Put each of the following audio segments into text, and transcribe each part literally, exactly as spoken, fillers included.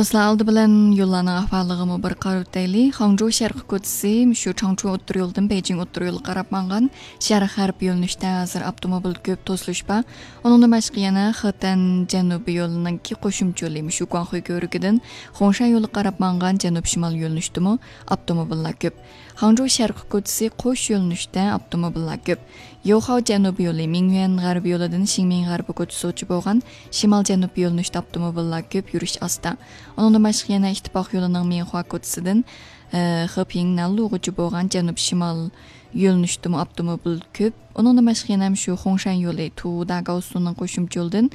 دوستلار، ئالدى بىلەن يوللارنىڭ ئەھۋالىغىمۇ بىر قارىۋېتەيلى. خاڭجۇ شەرقىي كوچىسى، شۇ چاڭچۇ ئوتتۇرا يولىدىن بېيجىڭ ئوتتۇرا يولىغا قاراپ ماڭغان شەرق غەرب يۆنىلىشتە ھازىر ئاپتوموبىل كۆپ، توسۇلۇش بار. ئۇنىڭدىن باشقا يەنە خېتەن جەنۇبىي يولىنىڭكى قوشۇمچە يولى، مۇشۇ گۇاڭخۇي كۆۋرۈكىدىن خۇڭشەن يولىغا قاراپ ماڭغان جەنۇب شىمال يۆنىلىشتىمۇ ئاپتوموبىللار كۆپ. خاڭجۇ شەرقىي كوچىسى قوش يۆنىلىشتە ئاپتوموبىللار كۆپ. يوخاۋ جەنۇبىي يولى، مىڭيۈەن غەربىي يولىدىن شىڭمىڭ غەربىي كوچىسىغىچە بولغان شىمال جەنۇب يۆنىلىشتە ئاپتوموبىللار كۆپ، يۈرۈش ئاستا. ئۇنىڭدىن باشقا يەنە ئىتتىپاق يولىنىڭ مىڭخۇا كوچىسىدىن، ئە، خېپىڭ نەنلۇغىچە بولغان جەنۇب شىمال يۆنىلىشتىمۇ ئاپتوموبىل كۆپ. ئۇنىڭدىن باشقا يەنە شۇ خۇڭشەن يولى، تۇۋۇدا گاۋسۇنىڭ قوشۇمچە يولىدىن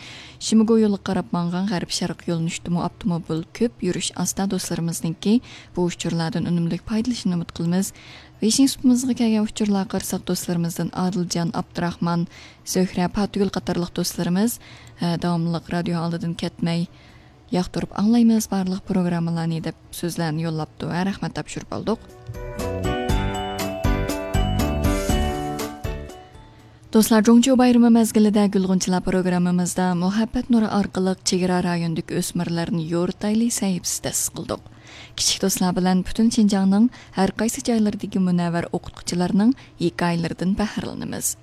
شىمىگۇ يولىغا قاراپ ماڭغان غەرب شەرق يۆنىلىشتىمۇ ئاپتوموبىل كۆپ، يۈرۈش ئاستا. دوستلىرىمىزنىڭكى بۇ ئۇچۇرلاردىن ئۈنۈملۈك پايدىلىنىشىنى ئۈمىد قىلىمىز. ۋېيشىن سۇپىمىزغا كەلگەن ئۇچۇرلارغا قارىساق، دوستلىرىمىزدىن ئادىلجان ئابدۇراخمان، زۆھرە پاتىگۈل قاتارلىق دوستلىرىمىز، ئە، داۋاملىق رادىيو ئالدىدىن كەتمەي، ياقتۇرۇپ ئاڭلايمىز بارلىق پروگراممىلارنى دەپ سۆزلەرنى يوللاپتۇ. ھە، رەھمەت تاپشۇرۇپ ئالدۇق. دوستلار، جۇڭچيۇ بايرىمى مەزگىلىدە گۈلغۇنچىلار پروگراممىمىزدا مۇھەببەت نۇرى ئارقىلىق چېگرا رايونىدىكى ئۆسمۈرلەرنى يورۇتايلى سەھىپىسى تەسىس قىلدۇق. كىچىك دوستلار بىلەن پۈتۈن شىنجاڭنىڭ ھەر قايسى جايلىرىدىكى مۇنەۋۋەر ئوقۇتقۇچىلارنىڭ ھېكايىلىرىدىن بەھرىلىنىمىز.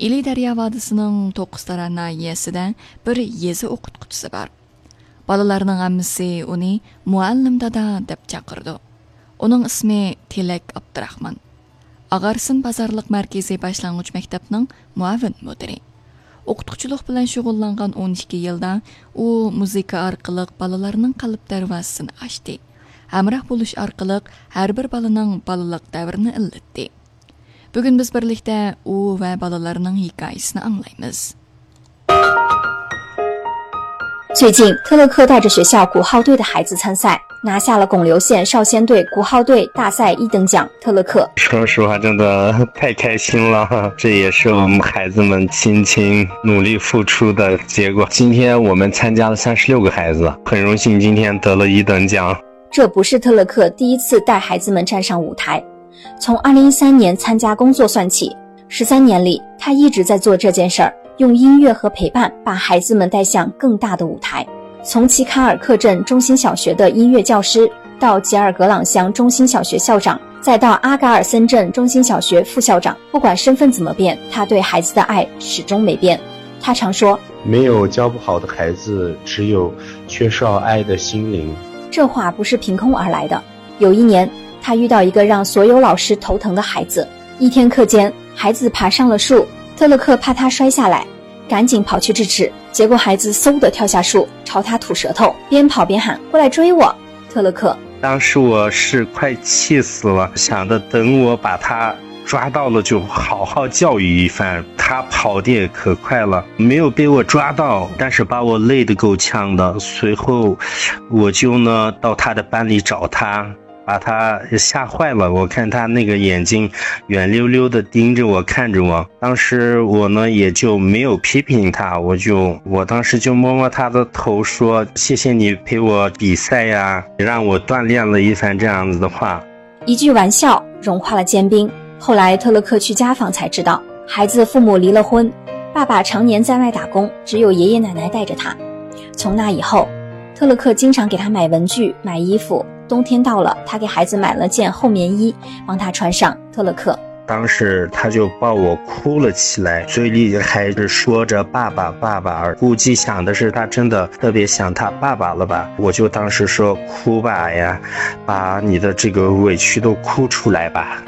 ئىلى دەريا ۋادىسىنىڭ توققۇزتارا ناھىيەسىدە بىر يېزا ئوقۇتقۇچىسى بار. بالىلارنىڭ ھەممىسى ئۇنى مۇئەللىم دادا دەپ چاقىرىدۇ. ئۇنىڭ ئىسمى تىلەك ئابدۇراخمان. ئاغارسىن بازارلىق مەركىزىي باشلانغۇچ مەكتەپنىڭ مۇئاۋىن مۇدىرى. ئوقۇتقۇچىلىق بىلەن شۇغۇللانغان ئون ئىككى يىلدا ئۇ مۇزىكا ئارقىلىق بالىلارنىڭ قەلب دەرۋازىسىنى ئاچتى. ھەمراھ بولۇش ئارقىلىق ھەر بىر بالىنىڭ بالىلىق دەۋرىنى ئىللىتتى. بۈگۈن بىز بىرلىكتە ئۇ ۋە بالىلارنىڭ ھېكايىسىنى ئاڭلايمىز. 最近，特勒克带着学校鼓号队的孩子参赛，拿下了巩留县少先队鼓号队大赛一等奖。特勒克，说实话，真的太开心了，这也是我们孩子们辛勤努力付出的结果。今天我们参加了三十六个孩子，很荣幸今天得了一等奖。这不是特勒克第一次带孩子们站上舞台，从二零一三年参加工作算起，十三年里，他一直在做这件事儿，用音乐和陪伴把孩子们带向更大的舞台。从齐卡尔克镇中心小学的音乐教师，到吉尔格朗乡中心小学校长，再到阿嘎尔森镇中心小学副校长，不管身份怎么变，他对孩子的爱始终没变。他常说，没有教不好的孩子，只有缺少爱的心灵。这话不是凭空而来的。有一年，他遇到一个让所有老师头疼的孩子。一天课间，孩子爬上了树，特勒克怕他摔下来，赶紧跑去制止，结果孩子嗖地跳下树，朝他吐舌头，边跑边喊：“过来追我！”特勒克，当时我是快气死了，想着等我把他抓到了就好好教育一番。他跑得也可快了，没有被我抓到，但是把我累得够呛的。随后我就呢到他的班里找他，把他吓坏了。我看他那个眼睛圆溜溜的盯着我，看着我。当时我呢也就没有批评他，我就，我当时就摸摸他的头说：“谢谢你陪我比赛呀，让我锻炼了一番”，这样子的话。一句玩笑融化了坚冰。后来特勒克去家访才知道，孩子父母离了婚，爸爸常年在外打工，只有爷爷奶奶带着他。从那以后，特勒克经常给他买文具、买衣服，冬天到了，他给孩子买了件厚棉衣，帮他穿上。特勒克，当时他就抱我哭了起来，嘴里还是说着“爸爸，爸爸”，估计想的是他真的特别想他爸爸了吧。我就当时说：“哭吧呀，把你的这个委屈都哭出来吧。”